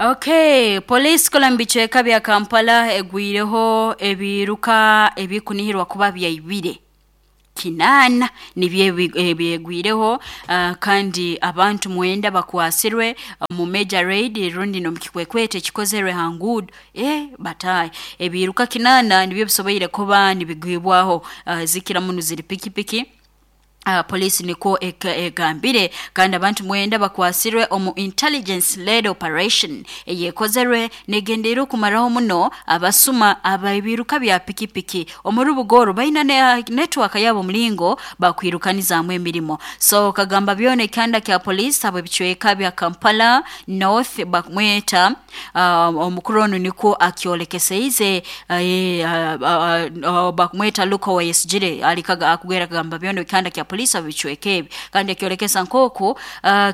Okay, police kola mu bicweka bya Kampala egwireho ebiruka ebikunihirwa kuba byaibire 8 nibyo ebyegwireho, kandi abantu 9 bakwasirwe mu major raid rundi n'omu kikwekweto ekikozerwe ha nguudo. Bataahi ebiruka 8 nibyo bisoboire kuba nibigwibwaho, zikira muno ziri pikipiki. Poliisi nikwo egambire, kandi abantu 9 bakwasirwe omu intelligence led operation eyekozerwe negendeire okumaraho muno abasuma abebiruka bya pikipiki omu rubuga oru. Baina ne network yabo omulingo bakwirukanizaamu emirimo. So kagamba byona ekihanda kya poliisi habw'ebicweka bya Kampala North bakumweta omukuru onu nikwo akyolekeseize, bakumweta Luka Owoyesigyire ali akugwera kagamba byona ekihanda kya poliisi habw'ebicweka ebi, kandi akyolekesa nk'oku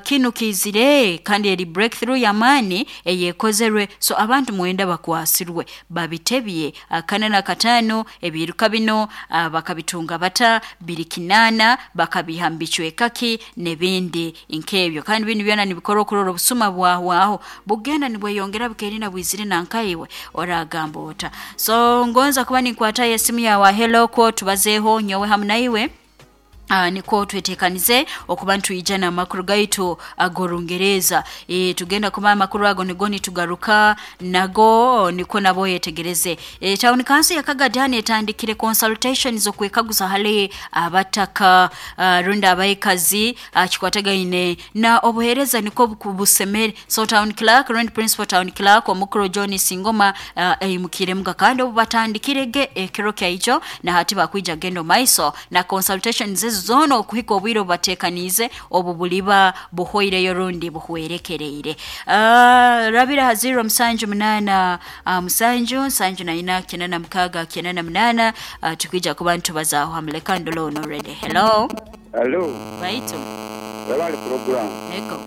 kinu kiizire kandi eri breakthrough y'amaani eyekozerwe. So abantu 9 bakwasirwe babitebye 45. Ebiruka bino bakabitunga bata, biri 8, bakabiha mu bicweka ki n'ebindi nk'ebyo. Kandi binu byona nibikorwa okurora obusuma bwahwaho bugenda nibweyongera bukerina bwizire nankaiwe oragamba ota. So ngonza kuba ninkwatayo esimu yawe, hello, kwo tubazeeho nyowe hamu naiwe. Nikwo twetekanize okuba nitwija n'amakuru gaitu ag'Orungereza. Tugenda kuba amakuru ago nigo nitugaruka nago, nikwo nabo oyetegereze. Town council ya Kagadani etandikire consultations okwekaguza hali abataka, rundi abaikazi, kikwatagaine na obuheereza nikwo busemere. So town clerk rundi principal town clerk omukuru John Singoma, aimukiremuga, kandi obu batandikirege ekiro kyaijo na hati bakwija kugenda omu maiso na consultations ezo zoona okuhika obwire obubateekaniize obu buliba buhweireyo rundi buhwerekereire. Rabira ha 078 7 74 86 98, tukwija kuba nitubazaaho hamu. Leka ndole ono already. Hello. Hello. Baitu. Webale program. Ego.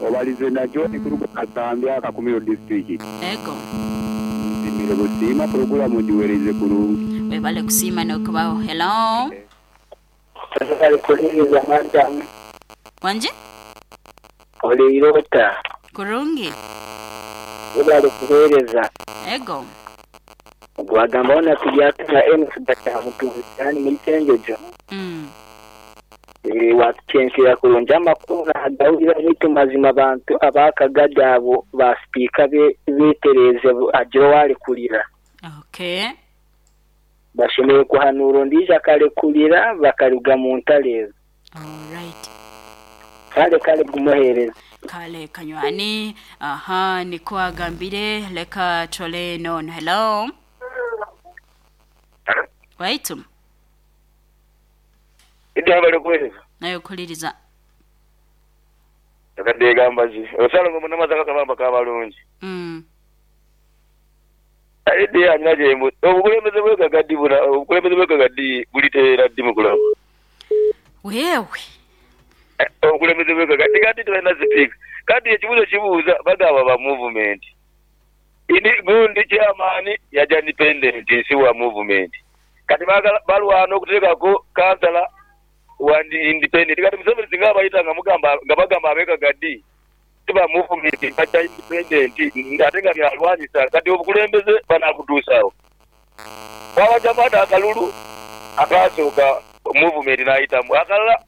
Obalize na John kuruga Kasambya, Kakumiro district. Ego. Nsimire busiima, program ogiwereize kurungi. Webale kusiima n'okubaho. Hello. Webale kuwuliriza madam. Wangi? Oleire ota? Kurungi. Webale kuwereza. Ego. Gwagamba wona turyatuna MC Bakyamutuuzi yani muri Kyenjojo. Watucenkera kurungi amakuru nagawulira, beitu mazima abantu abakagadi abo ba sipiika betereeze agire owarekurira. Okay. Bashemereire kuhanuura ondiijo akarekurira bakaruga mu ntaro ezo. Alright. Kale kale guma oheereze. Kale kanywani, aha nikwo agambire. Leka tole nono. Hello. Waitu. Idi webale kuwereza. Nawe okuliriza. Akadde gambazi. Osalongo munamazi akakabamba kabalungi. Idi alina gyembu obukulembeze bwe Kagadi buna obukulembeze bwe Kagadi buliteera ddi mukulamu? Wewe. Obukulembeze bwe Kagadi kati tibalina sipiika. Kati ekibuuzo kibuuza bagaba ba movement. Ini gundi chairman yaja independent si wa movement. Kati bagala balwana okuteekaku kansala wa independent. Kati Museveni singa abaita nga mugamba nga bagamba abe Kagadi ti ba movement baja independent ate nga byalwanisa kati obukulembeze banabutuusa wa? Baabajamu ati akalulu akaasooka movement naayitamu akalala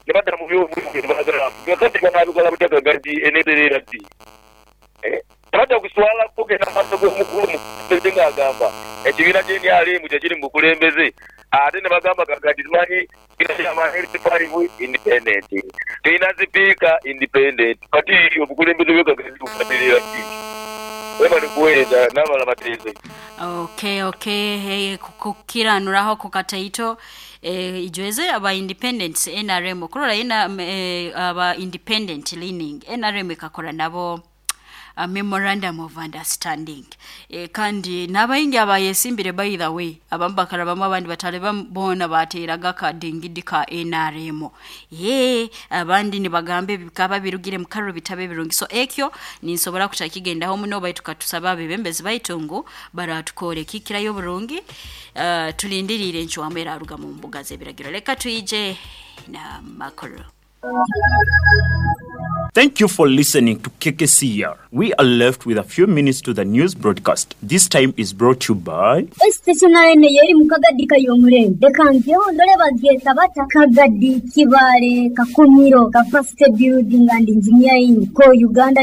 ni bata mu movement baagala kati banaabikola butya Kagadi eneetereera ddi? Tebajja kuswala kugenda mu maiso g'omukulu omukulembeze ng'agamba ekibiina kye nrm kye kiri mu bukulembeze ate ni bagamba Kagadi tumanyi tulina chairman LC5 independent, tulina sipiika independent kati obukulembeze bwe Kagadi bubatereera ddi? Webale kuweereza n'abalala bateeze. Okay, okay, hey, kukiranuraho ku kataito, ijweze aba independents NRM okurora ina aba independent leaning NRM ekakora nabo a memorandum of understanding, kandi n'abaingi abayesimbire, by the way, abamu bakarabamu abandi batalebamu, boona bateeraga akadingidi ka NRM. Ye abandi nibagamba ebikaba birugire mu karuru bitabe birungi, so ekyo ninsobora kutakigendaho muno, baitu katusaba abebembezi baitu ngu baratukora ekikirayo oburungi. Tulindiriire encwamu eraruga mu mbuga z'ebiragiro. Leka twije n'amakuru. Thank you for listening to KKCR. We are left with a few minutes to the news broadcast. This time is brought to you by Stationery eno yeri mu Kagadi Kayomurembe. Leka njeho ndole bagyeta bata Kagadi Kibaale Kakumiro Capacity Building and Engineering ko Uganda.